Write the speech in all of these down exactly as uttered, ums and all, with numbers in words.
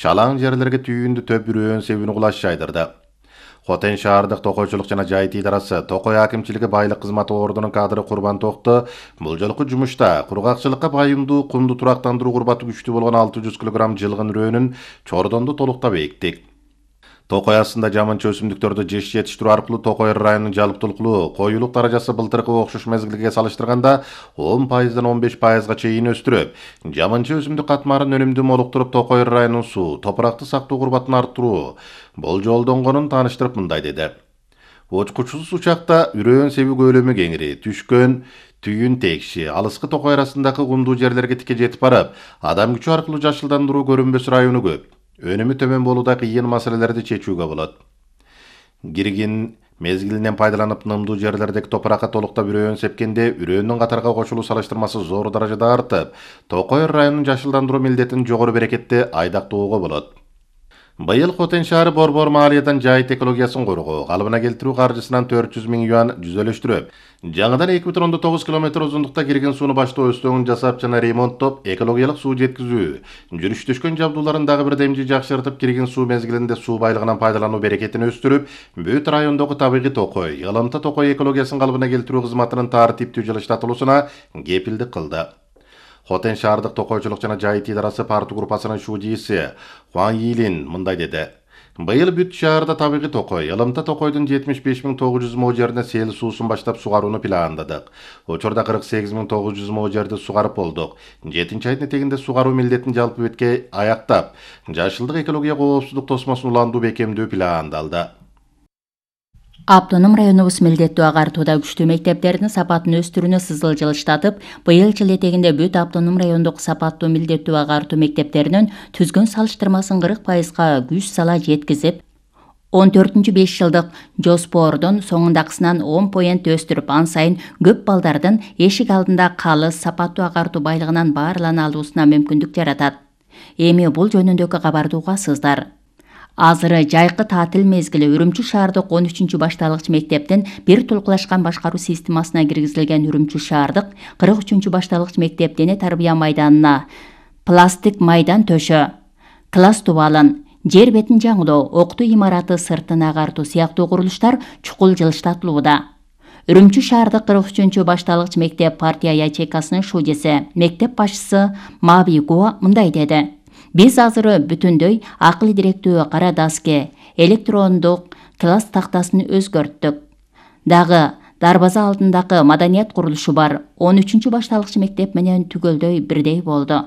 шалаң жерлерге түйүндү төп үрөөн себини кулаш жайдырды. Хотен шаардык токойчулук жана жайыт идарасы Токой акимчилиги байлык кызматы ордунун кадры Курбан Токто бул жолку жумушта кургакчылыкка байымдуу кумду турактандыруу курбаты күчтүү болгон алты жүз килограмм жылгын үрөөнүн чордонду толуктап эктик. Токой астында жаманча өсүмдүктөрдү жеш жетиштирүү аркылуу Токой районунун жалпылыктуу коюлук даражасы былтыркы окшош мезгилге салыштырганда он пайыздан он беш пайызга чейин өстүрүп, жаманча өсүмдүк катмарын өнүмдүү молуктуруп Токой районунун суу, топуракты сактоо курбатын арттыруу болжолдонгонун тааныштырып мындай деди. Очкучсуз учакта үрөөн себи көлөмү кеңири, түшкөн түйүн текши, алыскы Токой арасындагы кумдуу жерлерге тике жетип барып, адам күчү аркылуу жашылдандыруу көрүнбөс району көп. Өнүмү төмөн болууда кыйын маселелерди чечүүгө болот. Киргин мезгилинен пайдаланып нымдуу жерлердеги топуракка толуктап үрөөн сепкенде үрөөнүн катарга кошулуу салыштырмасы зор даражада артып, Токой районунун жашылдандыруу милдетин жогору берекетте айдактоого болот. Быйыл Хотен шаары Борбор маалиядан жайыт экологиясын коргоо, калыбына келтирүү каржысынан төрт жүз миң юан жүзөлөштүрүп, жаңыдан эки бүтүн ондон тогуз километр узундукта кирген сууну баштоо өстөгүн жасап жана ремонттоп, экологиялык суу жеткизүү, жүрүш-төшкөн жабдууларын дагы бир демжи жакшыртып, кирген суу мезгилинде суу байлыгынан пайдалануу берекетин өстүрүп, бүт райондогу табигый Токой, Ылымта Токой экологиясын калыбына келтирүү кызматынын тартиптүү жылыштатылуусуна кепилдик кылды. Хотен шаардык токойчулук жана жайыт идарасы парту группасынын шуудииси Хуан Йилин мындай деди. Быйыл бүт шаарда табигый Токой, Ылымта Токойдун жетимиш беш миң тогуз жүз мо жерине сел суусун баштап сугарууну пландадык. Учурда кырк сегиз миң тогуз жүз мо жерди сугарып болдук. жетинчи айдын этегинде сугаруу милдетин жалпы бетке аяктап, жашылдык экология коопсуздук тосмосун уландуу бекемдөө пландалды. Автоном районубуз милдеттүү агартууда күчтүү мектептердин сапатын өстүрүүнү сызыл жылыштатып, быйыл жыл этегинде бүт автоном райондук сапаттуу милдеттүү агартуу мектептеринин түзгөн салыштырмасын кырк пайызга күч сала жеткизип, он төртүнчү беш жылдык жоспордун соңундакысынан он поинт өстүрүп, ан сайын көп балдардын эшик алдында калыс сапаттуу агартуу байлыгынан баарлана алуусуна мүмкүндүк жаратат. Эми бул жөнүндөгү кабарды угасыздар. Азыры жайкы таатил мезгили Үрүмчү шаардык он үчүнчү башталгыч мектептин бир тулкулашкан башкаруу системасына киргизилген Үрүмчү шаардык кырк үчүнчү башталгыч мектеп дене тарбия майданына пластик майдан төшө, класс тубалын, жер бетин жаңылоо, окутуу имараты сыртын агартуу сыяктуу курулуштар чукул жылыштатылууда. Үрүмчү шаардык кырк үчүнчү башталгыч мектеп партия ячейкасынын шуудиси, мектеп башчысы Мабиго мындай деди. Биз азыр бүтүндөй акыл директүү кара доске, электрондук класс тактасын өзгөрттүк. Дагы дарбаза алдындагы маданият курулушу бар. он үчүнчү башталгыч мектеп менен түгөлдөй бирдей болду.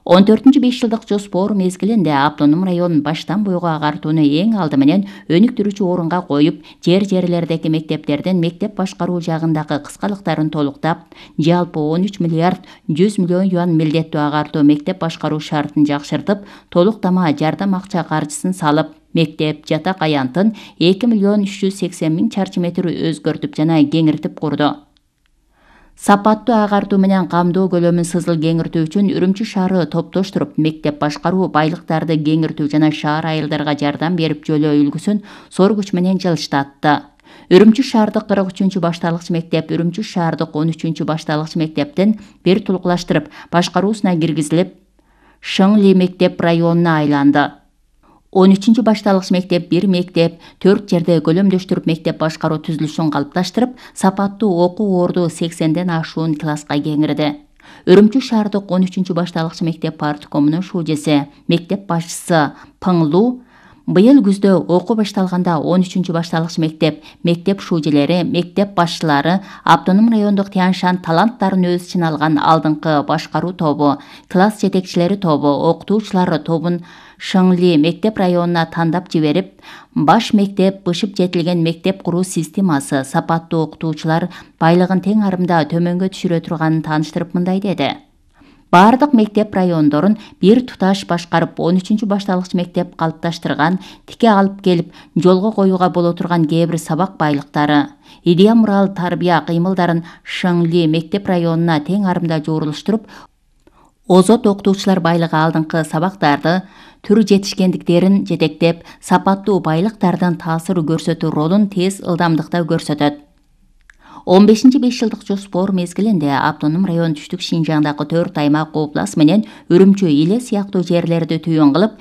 он төртүнчү беш жылдык жоспор мезгилинде автоном район баштан буйга агартууну эң алды менен өнүктүрүүчү орунга коюп, жер-жерлердеги мектептердин мектеп башкаруу жагындагы кыскалыктарын толуктап, жалпы он үч миллиард жүз миллион юан милдеттүү агартуу мектеп башкаруу шартын жакшыртып, толуктама жардам акча каржысын салып, мектеп жатак аянтын эки миллион үч жүз сексен миң чарчы метр өзгөртүп жана кеңиртип курду. Сапаттуу агартуу менен камдоо көлөмүн сызыл кеңиртүү үчүн Үрүмчү шаары топтоштуруп, мектеп башкаруу байлыктарды кеңиртүү жана шаар айылдарга жардам берип жөлөө үлгүсүн зор күч менен жылыштатты. Үрүмчү шаардык кырк үчүнчү башталгыч мектеп Үрүмчү шаардык он үчүнчү башталгыч мектептин бир тулкулаштырып, башкаруусуна киргизилип, Шыңли мектеп районуна айланды. он үчүнчү башталгыч мектеп бир мектеп, төрт жерде көлөмдөштүрүп мектеп башкаруу түзүлүшүн калыпташтырып, сапаттуу окуу орду сексенден ашуун класска кеңирди. Үрүмчү шаардык он үчүнчү башталгыч мектеп парткомунун шуудиси, мектеп башчысы Пыңлу быйыл күздө окуу башталганда он үчүнчү башталгыч мектеп, мектеп шуудилери, мектеп башчылары, автоном райондук Тяншан таланттарын өз ичине алган алдыңкы башкаруу тобу, класс жетекчилери тобу, окутуучулар тобун Шыңли мектеп районуна тандап жиберип, баш мектеп бышып жетилген мектеп куруу системасы, сапаттуу окутуучулар байлыгын тең арымда төмөнгө түшүрө турганын тааныштырып мындай деди. Бардык мектеп райондорун бир туташ башкарып, он үчүнчү башталгыч мектеп калыпташтырган, тике алып келип, жолго коюуга боло турган кээ бир сабак байлыктары, идея мурал тарбия кыймылдарын Шыңли мектеп районуна тең арымда жуурулуштуруп, озот окутуучулар байлыгы алдыңкы сабактарды түр жетишкендиктерин жетектеп, сапаттуу байлыктардын таасир көрсөтүү ролун тез ылдамдыкта көрсөтөт. он бешинчи беш жылдык жоспор мезгилинде автоном район түштүк Шинжаңдагы төрт аймак облас менен Үрүмчү, Иле сыяктуу жерлерди түйүн кылып,